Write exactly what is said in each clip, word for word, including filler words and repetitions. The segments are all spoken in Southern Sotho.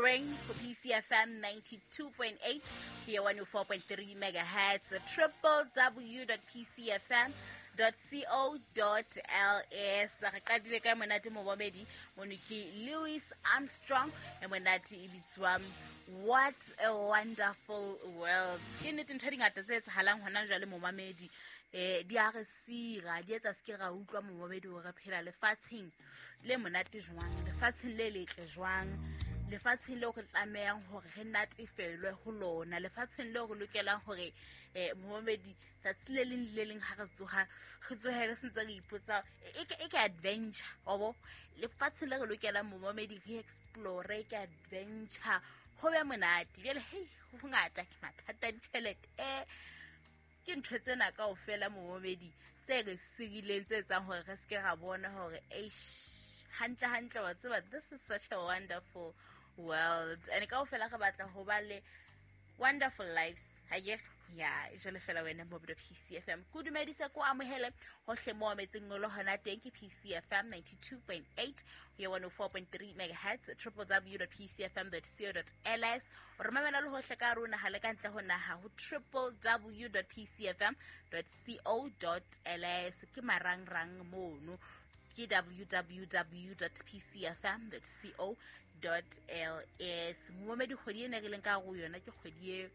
horeng ho P C F M ninety-two point eight ho ya one oh four point three megahertz, triple w dot p c f m dot co dot l s. Re qadile ka monate momamedi mono ke Louis Armstrong e monate e bitswa What a Wonderful World. Ke nnete ntho di ngata tse etsahalang hona jwale momamedi, eh di a re sira, di etsa se ke ra utlwa momamedi hore re phela lefatsheng le monate jwang, lefatsheng le letle jwang, lefatsheng leo re tlamehang hore re natefelwe ho lona, lefatsheng leo re lokelang hore eh momamedi tsatsi le leng le leng ha re tsoha re tsohe re sentse re ipotsa e ke e ke adventure obo, lefatsheng le re lokelang momamedi re explore ke adventure ho be monate. Jwale hei ho ngata ke mathata a ditjhelete eh ke ntho tsena kaofela momamedi tse re sirileng tse etsang hore re se ke ra bona hore eish hantle hantle wa tseba this is such a wonderful world and kaofela re batla ho ba le wonderful lives ha ke ya jwale fela wena mo P C F M ko dumedisa ko amohele hohle mo metseng ngolo hona teng ke P C F M ninety-two point eight ho ya one oh four point three megahertz, triple w dot p c f m dot co dot l s. O re mamela le hohle ka rona ha le ka ntle ho naha ho triple w dot p c f m dot co dot l s. Ke marangrang mono ke w w w dot p c f m dot co dot l s. Momamedi kgwedi ena re leng ka go yona ke kgwedi e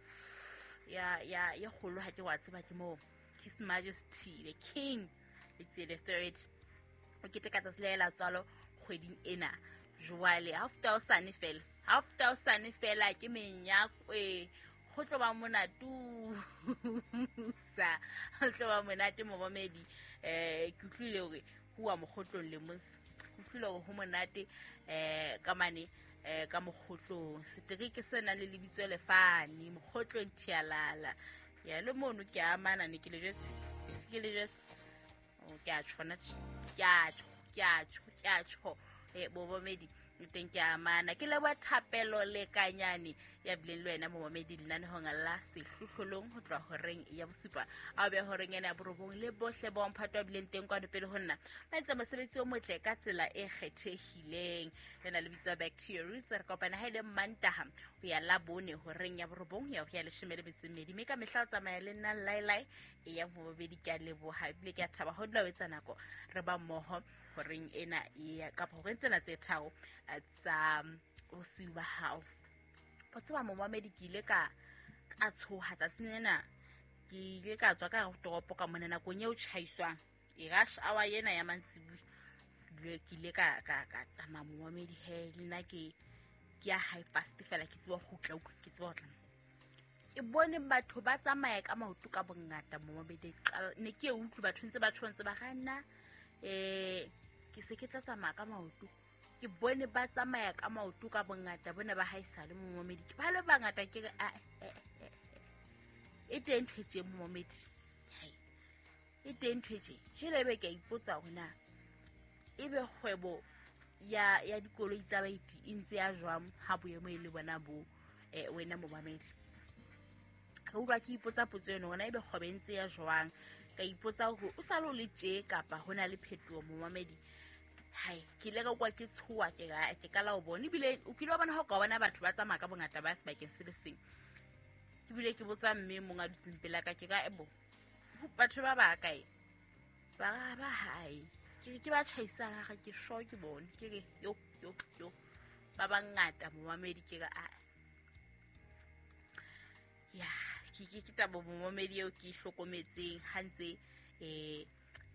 ya ya ya kgolo ha ke wa tseba ke mo His Majesty the King it's the third o keteka tsatsi le la tswalo kgweding ena. Jwale half thousand fela half thousand fela ke menyakwe ho tlo ba monate sa ho tlo ba monate momamedi. Eh ke utlwile hore huwa mokgotlong le mos ke utlwile hore ho monate eh ka mane eh ka mokgotlong setereke se nang le lebitso le fane mokgotlong thialala ya le mono ke amana ne ke le jwetse se ke le jwetse o ke a tshwana ke a tjho ke a tjho ke a tjho eh momamedi teng ke amana ke leboha Thapelo le Kanyane ya bileng le wena momamedi lenanehong la sehlohlolong ho tloha horeng ya bosupa a be horeng ena ya borobong le bohle ba mphato a bileng teng kwano pele ho nna ba etsa mosebetsi o motle ka tsela e kgethehileng. Lena le bitswa Back to Your Roots. Re kopana ha ile Mantaha ho ya Labone horeng ya borobong ya ho ya leshome le metso e mmedi mme ka mehla o tsamaya le nna Lailai e yang momamedi. Ke a leboha ebile ke a thaba ho dula o etsa nako re ba mmoho horeng ena ya kapa horeng tsena tse tharo tsa bosiu ba hao. O tseba momamedi ke ile ka ka tshoha tsatsing lena, ke ile ka tswa ka toropo ka mona nakong eo tjhaiswang e rush hour ena ya mantsibuya. Ke ile ka ka ka tsamaya momamedi he le nna ke ke ya high fast fela ke tseba ho kgutla ke tseba ho tla ke bone batho ba tsamaya ka maoto ka bongata momamedi. Ne ke e utlwe batho ntse ba tjho ntse ba kganna eh ke se ke tla tsamaya ka maoto ke bone ba tsamaya ka maoto ka bongata bona ba haesale momamedi ke ba le bangata ke re a e teng ntho e tje momamedi hai e teng ntho e tje jele be ke a ipotsa hore na ebe kgwebo ya ya dikoloi tsa baeti e ntse ya jwang ha boemo e le bona bo eh wena momamedi. Ka utlwa ke ipotsa potso eno hore na ebe kgwebo e ntse ya jwang, ka ipotsa hore o sa lo le tje kapa hona le phetoho momamedi. Hai ke ile ka kwa ke tshoha ke ga ke kala o bona ebile o kile wa bona ha o ka bona batho ba tsamaya ka bongata ba sebakeng se le seng. Ke bile ke botsa mme mong a dutseng pela ka ke ka ebo batho ba ba kae ba ba hae ke ke ba tjhaisang ha ke sho ke bone ke re yo yo yo ba bangata momamedi ke ka a ya ke ke ke taba momamedi eo ke hlokometseng ha ntse eh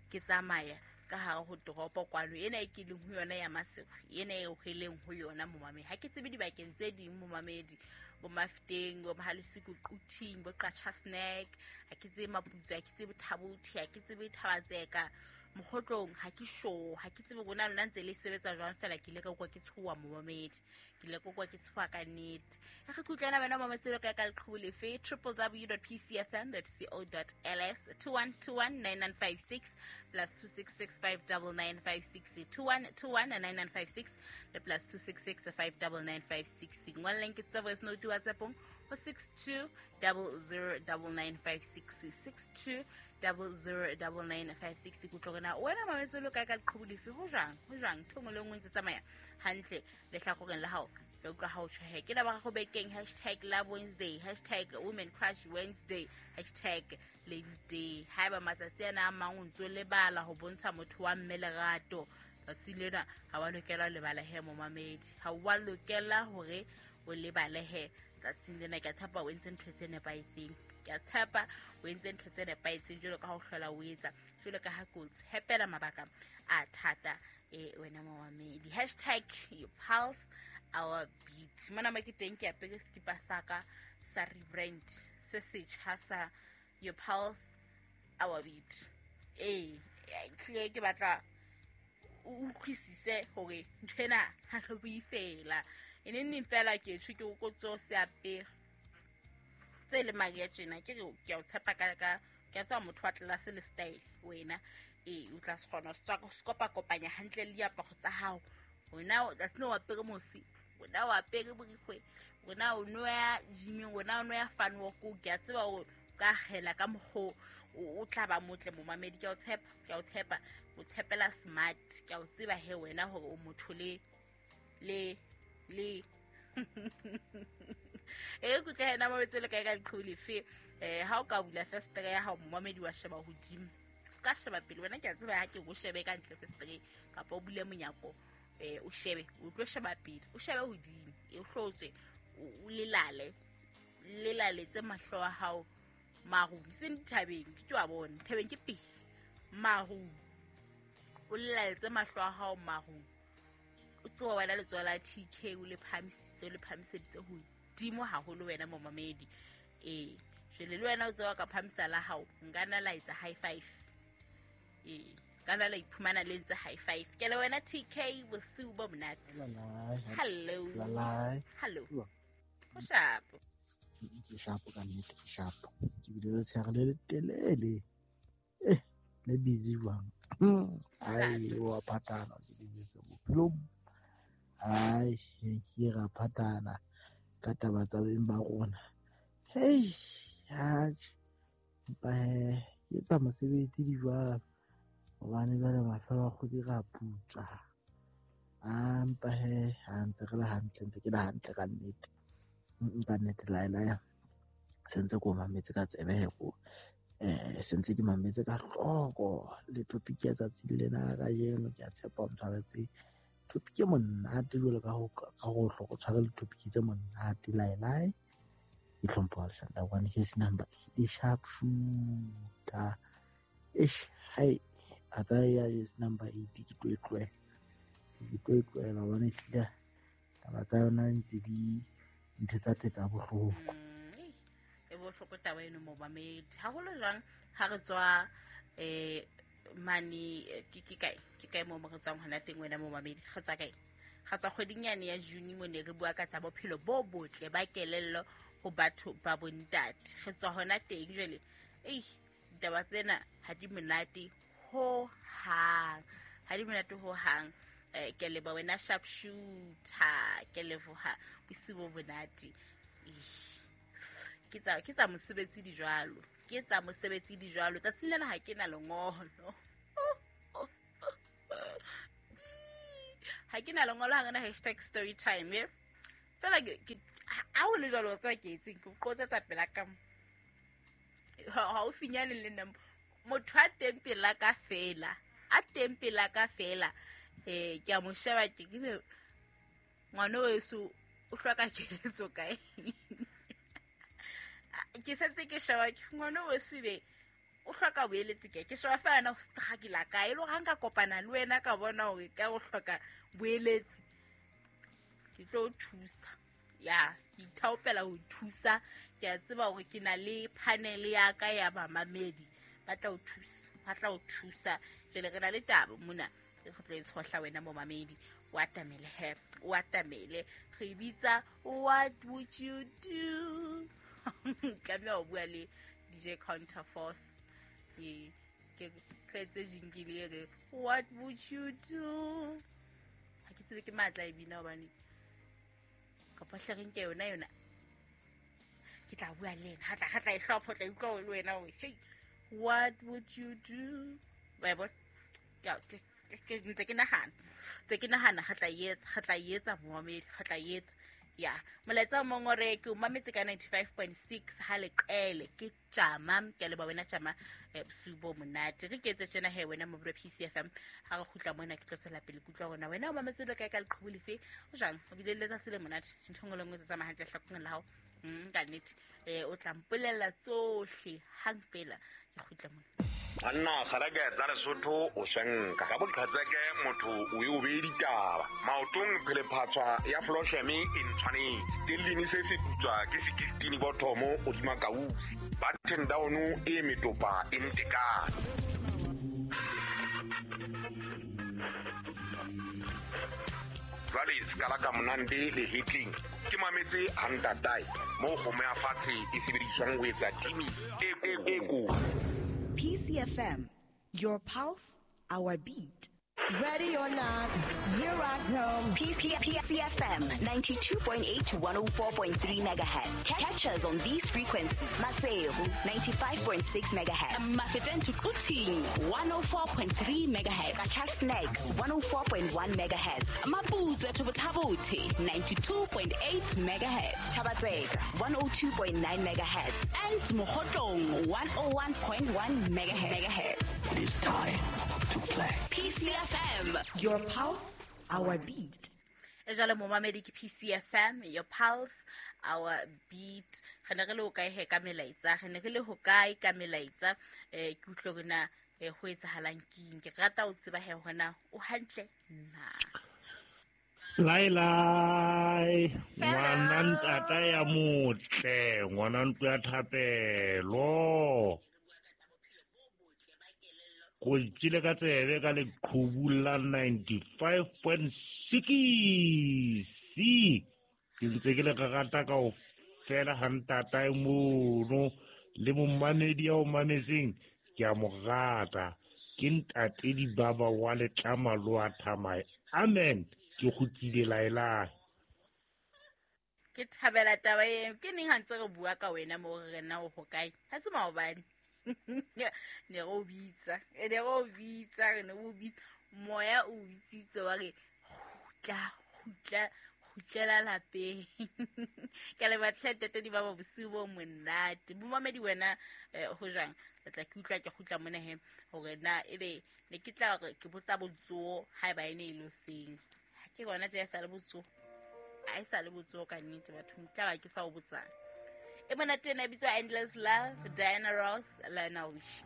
ke tsamaya ka hare ho toropo kwano ena e ke leng ho yona ya Maseru ena e re leng ho yona momamedi. Ha ke tsebe dibakeng tse ding momamedi bo Mafteng bo Mahalesiko Quthing bo Qacha Snack ha ke tsebe Maputso ha ke tsebe Thabothi ha ke tsebe Thabatseka mokgotlong ha ke sure ha ke tsebe rona lona ntse le sebetsa jwang fela ke ile ka kwa ke tshoha momamedi ke ile ka kwa ke tshoha ka nnete. Re kutlwana wena momamedi ka ka leqhubu lefe triple w dot p c f m dot co dot l s two one two one nine nine five six plus two six six five nine nine five six two one two one nine nine five six le plus two six six five nine nine five six. Ngwalleng ke tsa voice note WhatsApp ho six two zero zero nine nine five six six two double zero double nine five six. Ke utlwa hore na wena mametse lo kae ka leqhubu lefe, ho jwang ho jwang ntho engwe le engwe ntse tsamaya hantle lehlakoreng la hao. Ke utlwa ha o tjho he ke la ba go bekeng hashtag Love Wednesday, hashtag Women Crush Wednesday, hashtag Ladies Day. Haeba matsatsi ana a mang o ntso lebala ho bontsha motho wa mme lerato, tsatsi lena ha wa lokela ho lebala he momamedi, ha wa lokela hore o lebale he tsatsing lena. Ke a tshepa o entse ntho tse nepahetseng, ke a tshepa o entse ntho tse nepahetseng jwalo ka ha o hlola o etsa, jwalo ka ha ke o tshepela mabaka a thata e wena momamedi. Hashtag your pulse our beat. Mona mo ke teng ke apere sekipa sa ka sa rebrand se setjha sa your pulse our beat. Eh tlile ke batla o utlwisise hore ntho ena ha re bue fela, e neng neng fela ke tjho ke o kotso se apere tse le mari ya tjena, ke re ke a o tshepa ka ka ke a tseba motho wa tlelase le style wena. Eh o tla se kgona ho se kopa kopanya hantle le diaparo tsa hao. Wena o tla seno apere mosi, wena o apere borikgwe, wena o no ya gyming, wena o no ya fun walk, ke a tseba hore ka kgela ka mokgo o tla ba motle momamedi. Ke a o tshepa, ke a o tshepa, o tshepela smart, ke a o tseba he wena hore o motho le le le e kutlwe hena mametse le kae ka leqhubu lefe. Eh ha o ka bula festere ya hao momamedi wa sheba hodimo, se ka sheba pele wena, ke a tseba ha ke o shebe ka ntle festere kapa o bule monyako eh o shebe, o tlo sheba pele, o shebe hodimo, e hlotswe o lelale lelaletse mahlo a hao marung, seng dithabeng ke tlo a bona thabeng ke pele marung, o lelaletse mahlo a hao marung, o tseba wena letsoho la T K o le phahamisitse, o le phahamiseditse hodimo haholo wena momamedi. Eh jwale le wena o tseba ka phahamisa la hao, nka nna la etsa high five, eh ka nna la iphumana le ntse high five. Ke le wena T K, bosiu bo monate. Hello hello, ho shapo ke shapo ka nnete, ke shapo ke bile le tshehare le letelele eh le busy jwang. Ai wa patana ke dijetse bophelong, ai ke ra patana ka taba tsa beng ba rona. Hei atjhe empa he ke etsa mosebetsi di jwalo hobane jwale mafelo a kgwedi ra putswa. A empa he ha ntse re le hantle, ntse ke le hantle ka nnete, ka nnete laelaya se ntse ko mametse ka tsebe he ko eh se ntse ke mametse ka hloko le topic ya tsatsi lena la kajeno. Ke a tshepa o ntshwaretse topic e monate jwalo ka ho ka ho hloko tshware le topic tse monate laelae. Ke hlompho Alexander one case number eight sharp shooter eish hai a tsaya yes number eight ke tlo e tlohela, ke tlo e tlohela hobane ehlile taba tsa yona ntse di ntho tsa tsetsa bohloko. E bohloko taba eno momamedi, haholo jwang ha re tswa eh mane ke ke kae ke kae mo re tswang hona teng wena momamedi, re tswa kae? Re tswa kgweding yane ya June mo ne re bua ka tsa bophelo bo botle ba kelello ho batho ba bontate. Re tswa hona teng jwale, ei ditaba tsena ha di monate ho hang, ha di monate ho hang. Eh ke leboha wena sharp shooter, ke leboha bosiu bo monate. Ke tsa ke tsa mosebetsi di jwalo, ke tsa mosebetsi di jwalo. Tsatsing lena ha ke na lengolo, ha ke na lengolo, ha ngena hashtag story time ye fela ke ha o le jwalo tswa ke etseng ke qotsetsa pela ka haufinyane le nna motho a teng pela ka fela, a teng pela ka fela. Eh ke a mo sheba ke ke ngwana weso o hloka keletso kae? Ke setse ke sheba ke ngwana weso be o hloka boeletsi kae? Ke sheba fela na o struggle kae, le hore ha nka kopana le wena ka bona hore ka o hloka boeletsi ke tlo o thusa. Ya ke ithaopela ho thusa, ke a tseba hore ke na le panel ya ka ya bamamedi ba tla o thusa, ba tla o thusa. Jwale re na le taba mona re tlo e tshohla wena momamedi, o atamele he, o atamele. Re bitsa what would you do? Tlameha ho bua le D J Counterforce, ke ke tletse jingle e re what would you do? Ha ke tsebe ke matla e bina hobane kapa hle re nke yona yona ke tla bua le yena, ha tla ha tla e hlopha, o tla utlwa le wena hore hei What would you do? Wa bona? Ke ke ntse ke nahana. Ntse ke nahana re tla etsa, re tla etsa momamedi, re tla etsa. Ya, molaetsa o mong o re ke o mametse ka ninety-five point six ha leqele ke tjama, ke a leboha wena tjama, eh, bosiu bo monate. Re ke etse tjena he wena mobile P C F M, ha re kgutla mona ke tlo tswela pele ke utlwa hore wena o mametse le kae ka leqhubu lefe, o jwang, o bile le letsatsi le monate, ntho e nngwe le nngwe e tsamaya hantle hlakoreng la hao. Mm, ka nnete, eh, o tla mpolella tsohle hang fela ke kgutla mona. Banna kgaleke tsa Lesotho o swenka ka boqhetseke motho o e o beye ditaba maotong phelephatswa ya Flosheme e ntshwanetse tellini se se putswa ke sixteen bothomo hodima kausi button down e metopa e ntekane. Jwale sekala ka monande le hitling ke mametse hantatae mo kgomo ya fatshe e sebediswang ho etsa timi e e ko. P C F M, your pulse, our beat. Ready or not, here I come. P C F M ninety-two point eight to one oh four point three megahertz. Catch us on these frequencies. Maseru ninety-five point six megahertz. Mafeteng to Quthing one oh four point three megahertz. Qacha's Nek one oh four point one megahertz. Maputswe to Botha-Bothe ninety-two point eight megahertz. Thaba-Tseka one oh two point nine megahertz. And Mokhotlong one oh one point one megahertz. It is time to play. P C F M, your pulse, our beat. E jwale momamedi ke P C F M, your pulse, our beat. Re ne re le hokae he ka melaetsa? Re ne re le hokae ka melaetsa? Eh, ke utlwe hore na, eh, ho etsahalang keng? Ke rata ho tseba he hore na o hantle na. Lai lai, ngwana ntata ya motle, ngwana ntlo ya thapelo. Ko itsile ka tsebe ka leqhubu la ninety-five point six. Ke ntse ke le rata kaofela ha ntatae mono le momamedi ya o mametseng ke a mo rata. Ke ntate Dibaba wa letlama lo a thamae. Amen. Ke kgutlile laelai. Ke thabela taba eo. Ke neng ha ntse re bua ka wena mo re na o hokae? Ha se maobane. Ne re o bitsa, ne re o bitsa, re ne o bitsa. Moya o bitsitse wa re kgutla, kgutla, kgutlela lapeng. Ke a leboha hle ntate Dibaba, bosiu bo monate. Momamedi wena, eh, ho jwang? Ke tla ke utlwa ke kgutla mona he hore na ebe ne ke tla re ke botsa botsoho haeba e ne e le hoseng. Ha ke gona tje e sa le botsoho. Ha e sa le botsoho ka nnete bathong, tla ba ke sa o botsang. E monate ena e bitswa Endless Love, Diana Ross, Lionel Richie.